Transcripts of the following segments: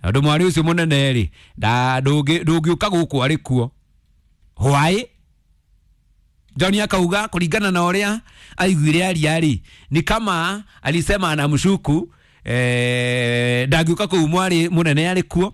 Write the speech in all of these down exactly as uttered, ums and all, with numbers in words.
Tondũ mwarĩ ũcio mũnene rĩ, ndũngĩũka gũkũ arĩ kuo. Why? John akauga kulingana na ũrĩa aiguire aria rĩ, ni kama alisema anamshuku eh, ndangĩũka kũu mwarĩ mũnene arĩ kuo.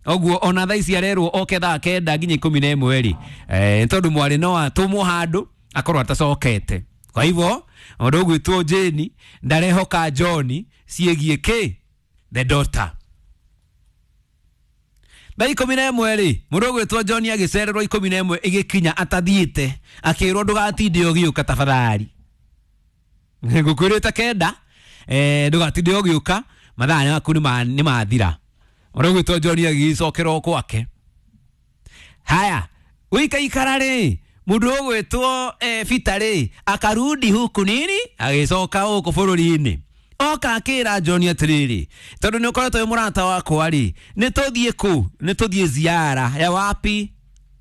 Oguo ona thaa ici arerwo oke thaa kenda nginya ikũmi na ĩmwe rĩ, eh, tondũ mwarĩ no atũmwo handũ akorwo atacokete. Kwa hivyo mũndũ ũgwĩtwo Jane ndarehoka John ciĩgiĩ kĩ the daughter. Thaa ikũmi na ĩmwe rĩ, mũndũ ũgwĩtwo John agĩcererwo ikũmi na ĩmwe ĩgĩkinya atathiĩte, akĩrwo ndũgatinde ũgĩũka tafadhali. Ngũkwĩrĩte kenda, eh, ndũgatinde ũgĩũka, mathaa maku nĩ mathira. Mũndũ ũgwĩtwo John agĩcokerwo gwake. Haya, gũikaikara rĩ, mũndũ ũgwĩtwo eh, Peter rĩ, akarudi huku nini, agĩcoka gũkũ bũrũri-inĩ. Oka akĩra John atĩrĩrĩ, tondũ nĩ ũkoretwo wĩ mũrata wakwa rĩ, nĩ tũthiĩ kũ? Nĩ tũthiĩ ziara ya wapi?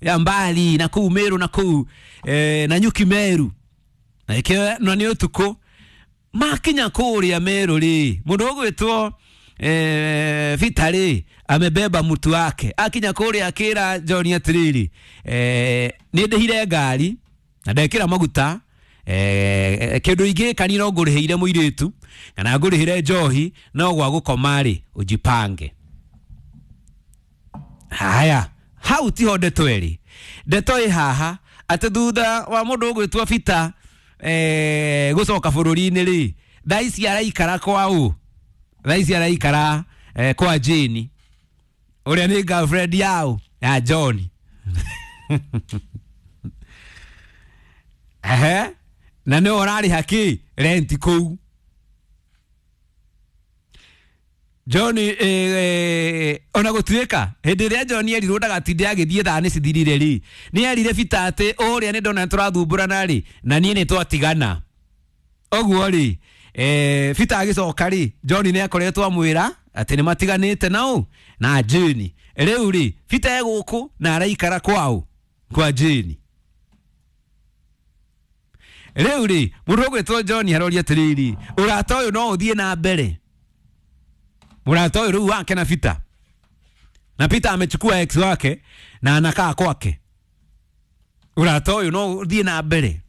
Ya mbali na kũu Meru na kũu eh, na Nyuki Meru. Na ĩkĩo na nĩ ũtukũ. Makinya kũrĩa Meru rĩ, mũndũ ũgwĩtwo eh, Peter rĩ, amebeba mtu wake. Akinya kũrĩa akĩra John atĩrĩrĩ, eh, nĩ ndĩhire ngari na ndekĩra maguta, eh, kĩndũ ingĩka ni no ngũrĩhĩire mũirĩtu kana ngũrĩhĩre njohi, no gwa gũkoma rĩ ũjipange. Haya, hau tiho ndeto ĩrĩ. Ndeto ĩ haha atĩ thutha wa mũndũ ũgwĩtwo Peter eh, gũcoka bũrũri-inĩ rĩ, thaa ici araikara kwa ũ? Thaa ici araikara eh, kwa Jane ũrĩa nĩ girlfriend yao ya John. Ehe, na nĩ ũrarĩha kĩ rent kũu. John eh, eh, ona gũtuĩka hĩndĩ ĩrĩa John erirwo ndagatinde agĩthiĩ thaa nĩ cithirire rĩ, nĩ erire Peter atĩ ũrĩa nĩ ndona tũrathumbũrana rĩ, na niĩ nĩ twatigana. Ũguo rĩ, eh, Peter agĩcoka rĩ, John nĩ akoretwo amwĩra atĩ nĩ matiganĩte na ũ na Jane. Rĩu rĩ, Peter e gũkũ na araikara kwao kwa Jane. Rĩu rĩ, mũndũ ũgwĩtwo John aroria atĩrĩrĩ, ũrata ũyũ no ũthiĩ na mbere? Mũrata ũyũ rĩu wake na Peter. Na Peter amechukua ex wake na anakaa kwake. Ũrata ũyũ no ũthiĩ na mbere?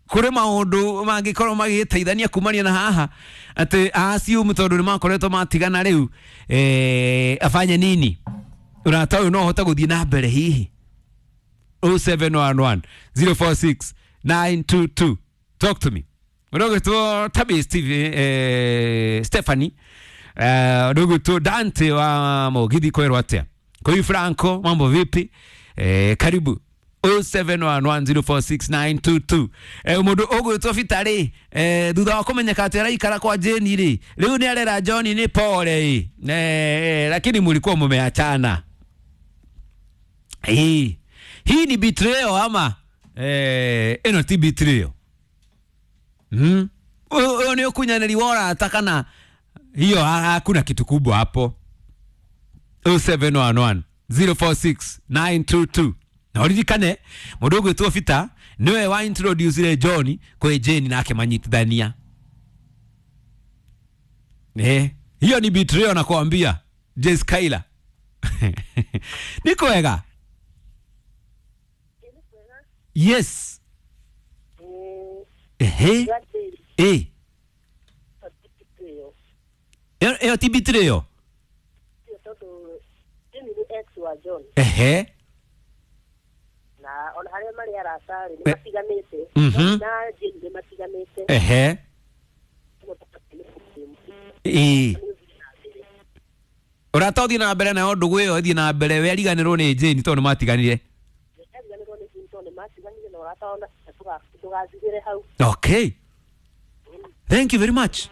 Kũrĩ maũndũ mangĩkorwo magĩteithania kumania na haha atĩ assume tondũ nĩ makoretwo matigana rĩu, eh, afanye nini? Ũrata ũyũ no ũhote gũthiĩ na mbere hihi? oh seven one one, zero four six, nine two two. Talk to me. Mũndũ ũgwĩtwo Tabi Steve, eh, Stephanie, eh, mũndũ ũgwĩtwo Dante wa Mũgithi kwerwo atĩa? Koi Franco, mambo vipi? Eh, karibu. oh seven one one, zero four six, nine two two. Eh, mũndũ ũgwĩtwo Peter rĩ, eh, thutha wa kũmenyeka atĩ araikara kwa Jane rĩ, rĩu nĩ arera John nĩ pole ĩ. Eh, lakini mlikuwa mumeachana. Eh, hii ni betrayal ama eh, ĩno ti betrayal? Mm. Ũyũ nĩ ũkunyanĩri wa ũrata kana hiyo hakuna kitu kubwa hapo? oh seven one one, zero four six, nine two two. Na ũririkane mũndũ ũgwĩtwo Peter nĩwe wa introduce John kwĩ Jane nake manyitithania. Eh, hiyo ni betrayal nakwambia. Jay Skyler. Niko wega? Yes. Ehe. Eh. Ĩyo ti betrayal? Ehe. Na ona harĩa marĩ arata rĩ, nĩ matiganĩte. Mhm. Na Jane nĩ matiganĩte. Ehe. Ĩĩ. Ũrata ũthiĩ na mbere nayo ndũgũ ĩyo ĩthiĩ na mbere, we ariganĩrwo nĩ Jane tondũ nĩ matiganire. Ariganĩrwo nĩ Jane tondũ nĩ matiganire na ũrata wao ndũgathirĩre hau. Okay. Thank you very much.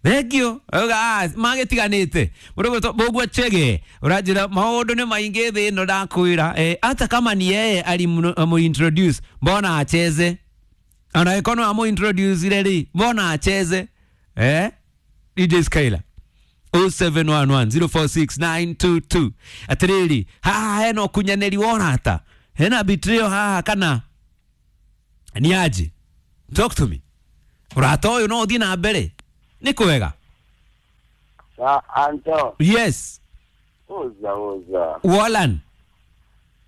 Thank you. Oga, magĩtiganĩte. Mũndũ ũgwĩtwo Chege, ũranjĩra maũndũ nĩ maingĩ thĩ ĩno ndakwĩra. Eh, hata kama ni yeye alimuintroduce, mbona acheze? Ona ĩkorwo no amuintroduce rĩ, mbona acheze? Eh? D J Skyler. oh seven one one, zero four six, nine two two. Atĩrĩrĩ, haha hena ũkunyanĩri wa ũrata? Hena betrayal haha kana ni aje? Talk to me. Ũrata ũyũ no ũthiĩ na mbere? Nĩ kwega? Sa Anto. Yes. Uza uza. Wolan.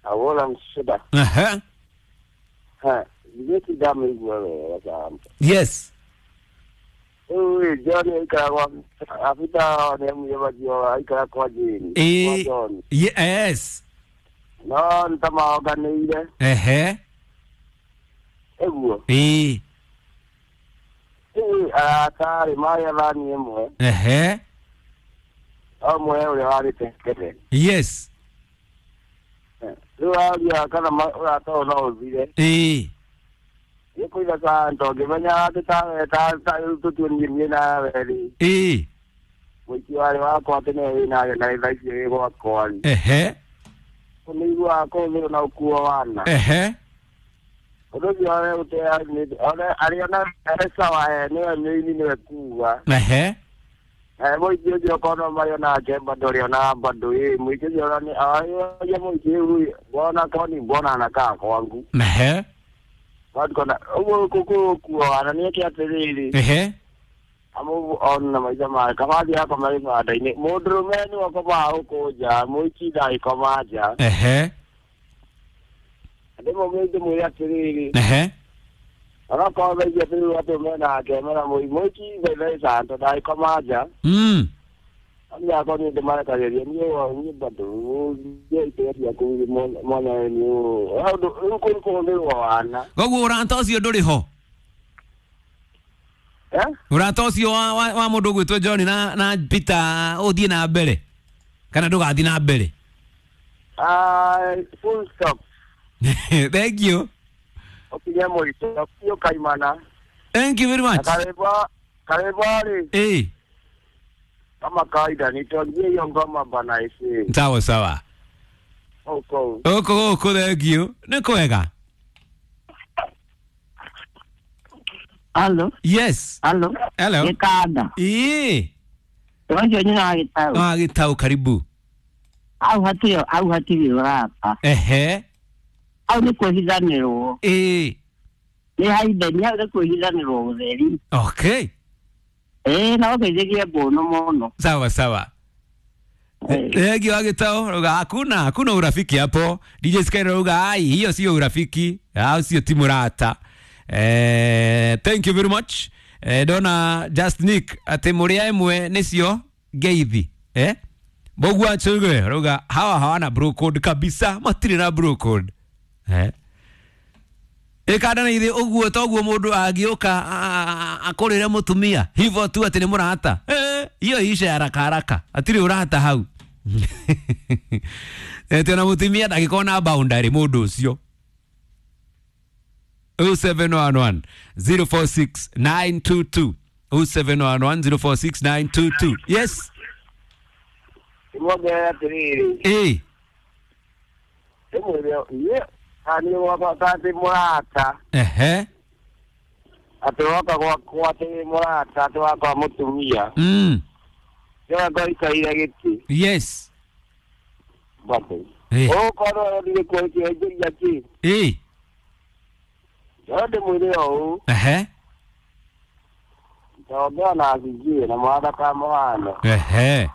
Awola mshida. Aha. Ha. Yeti damu igwe sa. Yes. Uwe John ikara afita ne mu yeba ikara kwa jini. Eh. Yes. No ntama oganire. Ehe. Eguo. Eh. Eh atari maya bani emwe. Ehe. Amwe ule wali tekete. Yes. Rĩu kana ũrata ũyũ no ũthire. Ĩĩ. Nĩkũiga kanto ngĩmenya atĩ tawe tũtuonirie niĩ nawe rĩ. Ĩĩ. Mũici warĩ wakwa atĩ nĩwe wĩnake na thaa ici wĩ gwakwa rĩ. Ehe. Nĩiguaga kũhũthĩrwo na ũkuo wana. Ehe. Ũndũ ũcio one arĩ ona e sawa nĩwe mĩini nĩwe kuga. Ehe. Eh mũici ũcio okorwo marĩ onake bado ũrĩ ona bado ĩ mũici ũcio nĩ aria mũici huyu mbona kwani mbona anakaa kwangu. Ehe. Watu kona ũguo kukuo na nĩ atĩrĩrĩ. Ehe. Amu on na maisha ma kama yako mari bada-inĩ mũndũrũme nĩwe ũkomaga gũkũ nja mũici ndangĩkoma nja. Ehe. Ndĩmũmwĩre ndĩmwĩre atĩrĩrĩ. Ehe. Onokorwo thaa ici atĩrĩrĩ atĩ menake mena mũici thaa ndangĩkoma nja. Mm. Niĩ akwa niĩ ndĩmarekagĩria niĩ niĩ bado niĩ itĩĩa ciaku mwana nĩ ũũ rĩu kũu kũhũthĩrwo wana. Koguo ũrata ũcio ndũrĩ ho? Eh? Ũrata ũcio wa wa, wa mũndũ ũgwĩtwo John na na Peter ũthiĩ na mbere kana ndũgathiĩ na mbere? Ah, full stop. Thank you. Ũkinye mũico biũ kaimana. Thank you very much. Karibu karibu rĩ. Eh. Kama kawaida nitongie hiyo ngoma bana isi. Sawa sawa. Oko. Oko oko thank you. Nĩ kwega. Hello. Yes. Hello. Hello. Gĩkanda. Ĩĩ. Ũcio nyina wa Gĩtaũ. Wa Gĩtaũ karibu. Hau hatirĩ hau hatirĩ ũrata. Ehe. Hau nĩ kwĩhithanĩrwo. Ĩĩ. Nĩ haitheni hau nĩ kwĩhithanĩrwo ũtheri. Okay. Ĩĩ na ũgeithĩrie mbũnũ mũno. Sawa sawa. Thank you Gĩtaũ. Ruga hakuna hakuna urafiki hapo. D J Sky ruga ai hiyo sio urafiki. Au sio timu rata. Eh, thank you very much. Eh, dona Just Nick ati muria imwe nicio ngeithi. Eh? Mbogwa chuge ruga hawa hawana bro code kabisa, matire na bro code. Eh? Ikanda na ithe uguo toguo mundu angioka akorire mutumia hivyo tu ati ni murata. Eh, hiyo ishe haraka haraka. Atiri urata hau. Eh, tena mutumia ndagikona boundary mundu ucio. oh seven one one, zero four six, nine two two. oh seven one one, zero four six, nine two two. Yes. Ndĩmwongerere atĩrĩrĩ. Eh. Ndĩmwĩre niĩ niĩ gwakwa ta atĩ mũrata. Ehe. Atĩ woka gwakwa atĩ mũrata atĩ wakwa mũtumia. Mm. Nĩwe ngoikarĩire gĩtĩ. Yes. Bado. Eh. Ũgũkorwo ũthiĩ kwenjeria kĩ? Eh. Ndĩmwĩre ũũ. Ehe. Nitaongea na Azizie na mwana kama wana. Ehe.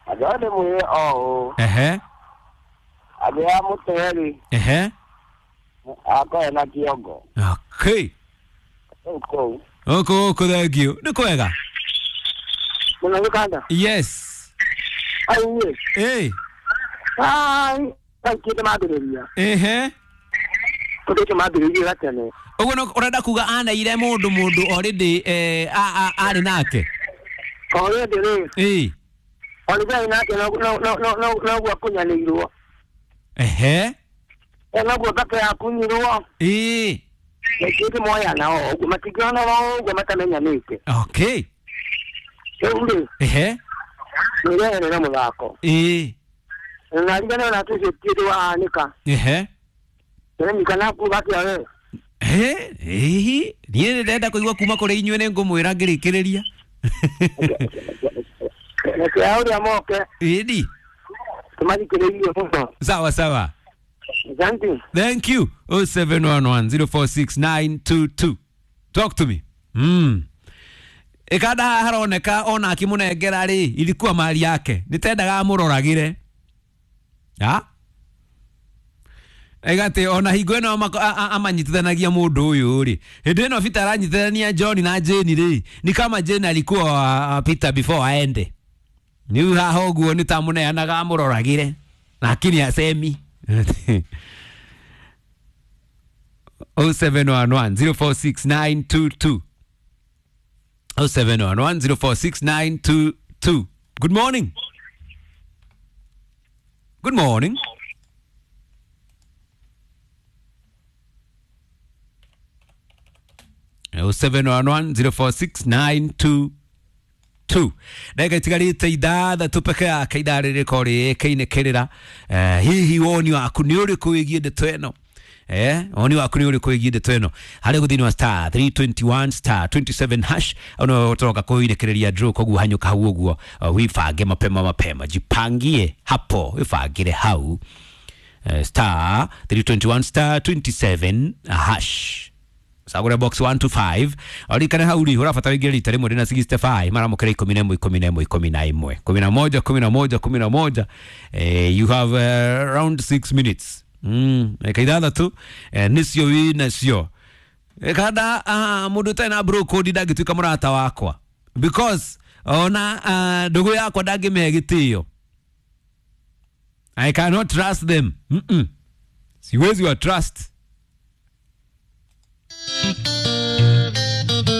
Andũ ndĩmwĩre ũũ. Ehe. Andũ a mũtwe-rĩ. Ehe. Akorwo na kĩongo. Okay. Kũu kũu. Oko oko thank you. Nĩ kwega? Mũno Gĩkanda. Yes. Ai. Eh. Ai, kaingĩ mambĩrĩria. Ehe. Kũndũ kĩ mambĩrĩria gatene. Ũguo no ũrenda kuga aneire mũndũ mũndũ already eh arĩ nake. Already rĩ. Eh. Already arĩ nake no no no no noguo akunyanĩirwo. Ehe. Noguo thake yakunyirwo. Eh. Nĩkĩĩ moyana o ũguo matingĩona o ũguo matamenyanĩte. Okay. Rĩu rĩ. Ehe. Nĩrehere mũthako. Eh. Na rigana na tucio tiĩ wahanĩka. Ehe. Ndĩremika naku gakĩa we. Eh, eh, niĩ ndĩrenda kũigua kuma kũrĩ inyuĩ nĩ ngũmwĩra ngĩrĩkĩrĩria. Reke ũrĩa moke. Ĩni. Tũmathikĩrĩrie mũno. Sawa sawa. Asante. Thank you. oh seven one one, zero four six, nine two two. Talk to me. Mm. Ikada haroneka ona akimunengera ri ilikuwa mali yake nitendaga amuroragire ya Egate ona hingo ĩno amanyitithanagia mũndũ ũyũ rĩ hĩndĩ ĩno Peter aranyitithania John na Jane rĩ ni kama Jane alikuwa Peter before aende niu haha ũguo nĩ ta mũneanaga amũroragĩre lakini asemi. oh seven one one zero four six nine two two oh seven one one zero four six nine two two. Good morning. Good morning. oh seven one one zero four six nine two two. Ndagĩka itigarĩte ithathatũ peke yake ithaa rĩrĩko rĩĩkainĩkĩrĩra. Hihi woni waku nĩ ũrĩkũ wĩgiĩ ndeto ĩno? Eh, woni waku nĩ ũrĩkũ wĩgiĩ ndeto ĩno? Harĩ gũthĩinĩ wa star three twenty-one star twenty-seven hash no tũroka kũinĩkĩrĩria draw koguo hanyũka hau ũguo wibange mapema mapema, jipangie hapo, wibangĩre hau. Star three twenty-one star twenty-seven hash sagure box one to five orikane hau ri urabatara ingire rita rimwe rina sixty-five maramukira ikumi na ĩmwe ikumi na ĩmwe ikumi na ĩmwe kumi na moja kumi na moja kumi na moja. Eh, you have uh, around six minutes mm eka ithathatũ eh, nicio wi nacio kada uh, mundu ũtarĩ na bro code ndangĩtuĩka mũrata wakwa because ona uh, ndũgũ yakwa ndangĩmĩhe gĩtĩo. I cannot trust them. Mm -mm. Siwezi wa trust.